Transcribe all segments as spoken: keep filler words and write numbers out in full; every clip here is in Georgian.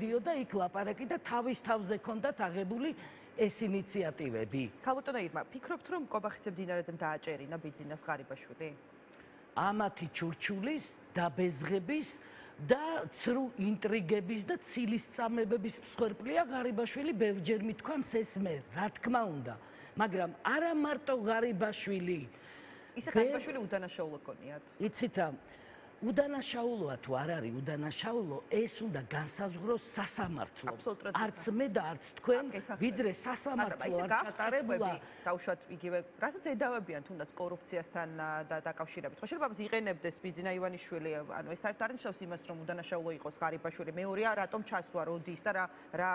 მოდიოდა იქ ლაპარაკი და თავის თავზე ქონდათ აღებული ეს ინიციატივები. ქალბატონო ირმა, ფიქრობთ რომ კობახიძემ დინარაძემ დააჭერინა ბიძინას ღარიბაშვილი? ამათი ჩურჩულის დაბეზღების და ცრუ ინტრიგების და ცილისწამებების მსხვერპლია ღარიბაშვილი, ბევრჯერ მithქვამს ეს მე, რა თქმა უნდა, მაგრამ არა მარტო ღარიბაშვილი. ისე ღარიბაშვილი უდანაშაულო გქონიათ? იცით რა, უდანაშაულოა თუ არ არის უდანაშაულო, ეს უნდა განსაზღვროს სასამართლომ. არც მე და არც თქვენ, ვიდრე სასამართლო არ ჩატარებულა. დავუშვათ იგივე, რასაც ედავებიან თუნდაც კორუფციასთან დაკავშირებით. ხო შეიძლება იყენებდეს ბიძინა ივანიშვილი, ანუ ეს არ ნიშნავს იმას, რომ უდანაშაულო იყოს ღარიბაშვილი. მეორეა, რატომ ჩასვა, როდის და რა რა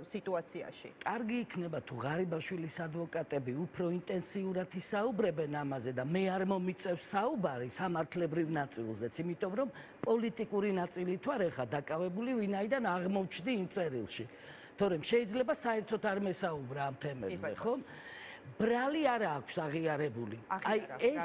სიტუაციაში. კარგი იქნება თუ ღარიბაშვილის ადვოკატები უფრო ინტენსიურად ისაუბრებენ ამაზე და მე არ მომიწევს საუბარი სამართლებრივ ნაწილზეც. იმიტომ რომ პოლიტიკური ნაწილი თუ არ ეხა დაკავებული ვინაიდან აღმოჩნდი იმ წერილში. თორემ შეიძლება საერთოდ არ მესაუბრა ამ თემებზე, ხო? ბრალი არ აქვს აღიარებული. აი ეს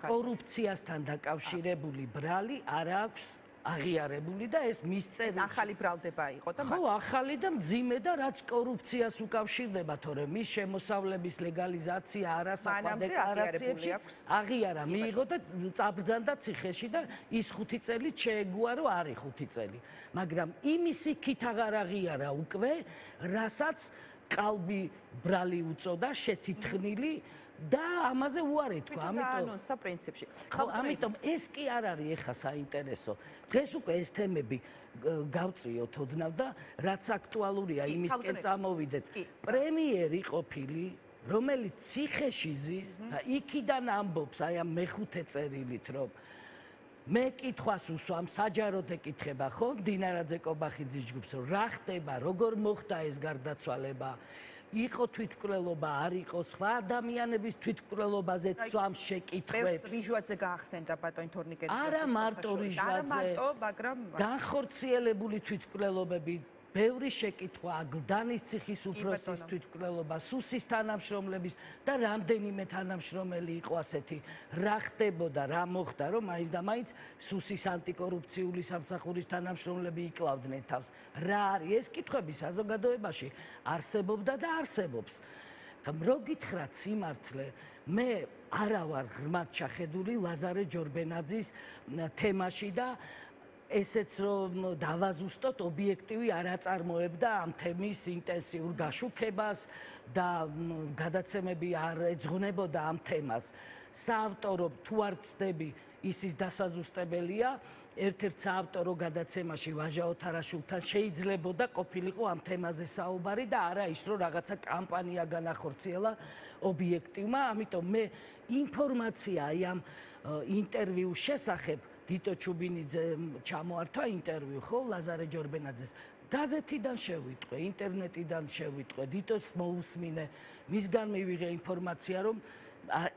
კორუფციასთან დაკავშირებული ბრალი არ აქვს აღიარებული და ეს მის წერილში ახალი ბრალდება იყო და ხო, ახალი და მძიმე და რაც კორუფციას უკავშირდება, თორემ მის შემოსავლების ლეგალიზაცია არასაკმაო დეკლარაციებში აღიარა, მიიღო და წაბრძანდა ციხეში და ის ხუთი წელი შეეგუარო არის ხუთი წელი. მაგრამ იმის იქით აღარ აღიარა უკვე, რასაც ყალბი ბრალი უწოდა, შეთითხნილი და ამაზე უარი თქვა, ამიტომ ანონსა პრინციპში. ხო, ამიტომ ეს კი არ არის ეხა საინტერესო. დღეს უკვე ეს თემები გავწიოთ ოდნავ და რაც აქტუალურია, იმისკენ წამოვიდეთ. პრემიერი ყოფილი, რომელიც ციხეში ზის და იქიდან ამბობს, აი ამ მეხუთე წერილით, რომ მე კითხვას უსვამ, საჯაროდ ეკითხება, ხო, დინარაძე კობახიძის ჯგუფს, რომ რა ხდება, როგორ მოხდა ეს გარდაცვალება. იყო თვითმკვლელობა, არ იყო სხვა ადამიანების თვითმკვლელობაზე ცვამს შეკითხვებს. რიჟვაძე გაახსენდა ბატონ თორნიკელის. არა მარტო რიჟვაძე. არა მარტო, მაგრამ განხორციელებული თვითმკვლელობები, ბევრი შეკითხვა, გლდანის ციხის უფროსის თვითმკვლელობა, სუსის თანამშრომლების და რამდენიმე თანამშრომელი იყო ასეთი. რა ხდებოდა, რა მოხდა, რომ მაინც და მაინც სუსის ანტიკორუფციული სამსახურის თანამშრომლები იკლავდნენ თავს. რა არის ეს კითხვები საზოგადოებაში არსებობდა და არსებობს. რო გითხრათ სიმართლე, მე არა ვარ ღრმად ჩახედული ლაზარე ჯორბენაძის თემაში და ესეც რომ დავაზუსტოთ ობიექტივი არ აწარმოებდა ამ თემის ინტენსიურ გაშუქებას და გადაცემები არ ეძღვნებოდა ამ თემას. საავტორო თუ არ ვწდები, ისის დასაზუსტებელია. ერთ-ერთ საავტორო გადაცემაში ვაჟა ოთარაშვილთან შეიძლებოდა ყოფილიყო ამ თემაზე საუბარი და არა ის რომ რაღაცა კამპანია განახორციელა ობიექტივმა, ამიტომ მე ინფორმაცია აი ამ ინტერვიუს შესახებ დიტო ჩუბინიძე ჩამოართვა ინტერვიუ, ხო, ლაზარე ჯორბენაძეს. გაზეთიდან შევიტყვე, ინტერნეტიდან შევიტყვე, დიტოს მოусმინე, მისგან მივიღე ინფორმაცია, რომ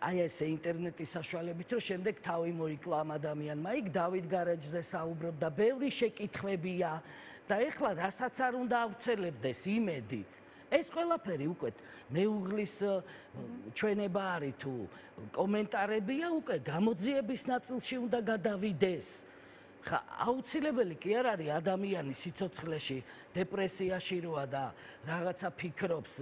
აი ესე ინტერნეტის საშუალებით, რომ შემდეგ თავი მოიკლა ამ ადამიანმა. იქ დავით გარეჯზე საუბრობდა, ბევრი შეკითხვებია და ეხლა რასაც არ უნდა ავრცელებდეს იმედი. ეს ყველაფერი უკვე მეუღლის ჩვენება არის თუ კომენტარებია, უკვე გამოძიების ნაწილში უნდა გადავიდეს. ხა აუცილებელი კი არ არის ადამიანი სიცოცხლეში, დეპრესიაში როა და რაღაცა ფიქრობს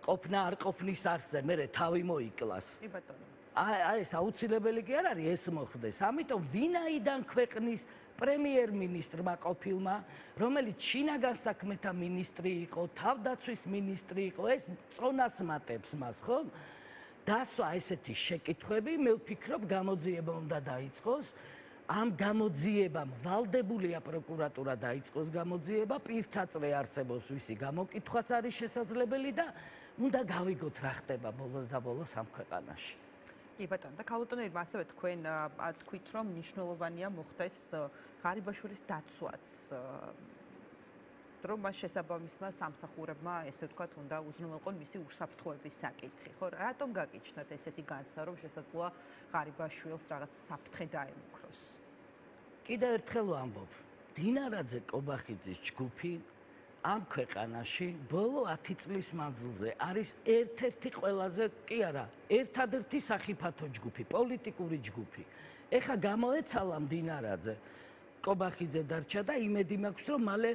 ყოფნა არ ყოფნის არსზე, მერე თავი მოიკლას. კი ბატონო. აი ეს აუცილებელი კი არ არის ეს მოხდეს. ამიტომ ვინაიდან ქვეყნის პრემიერ-მინისტრმა ყოფილმა, რომელიც შინაგან საქმეთა მინისტრი იყო, თავდაცვის მინისტრი იყო, ეს წონას მატებს მას, ხო? დასვა ესეთი შეკითხვები, მე ვფიქრობ, გამოძიება უნდა დაიწყოს. ამ გამოძიებამ ვალდებულია პროკურატურა დაიწყოს გამოძიება, პირთაწრე არსებობს ვისი გამოკითხვაც არის შესაძლებელი და უნდა გავიგოთ რა ხდება ბოლოს და ბოლოს ამ ქვეყანაში. კი ბატონო, და ქალბატონო ირმა, ასევე თქვენ თქვით, რომ მნიშვნელოვანია მოხდეს ღარიბაშვილის დაცვაც. რომ მას შესაბამისმა სამსახურებმა, ესე ვთქვათ, უნდა უზრუნველყონ მისი უსაფრთხოების საკითხი, ხო? რატომ გაგიჩნდათ ესეთი განცდა, რომ შესაძლოა ღარიბაშვილს რაღაც საფრთხე დაემუქროს? კიდევ ერთხელ ვამბობ, დინარაძე კობახიძის ჯგუფი ამ ქვეყანაში ბოლო ათი წლის მანძილზე არის ერთ-ერთი ყველაზე, კი არა, ერთადერთი სახიფათო ჯგუფი, პოლიტიკური ჯგუფი. ეხა გამოეცალა დინარაძე, კობახიძე დარჩა და იმედი მაქვს, რომ მალე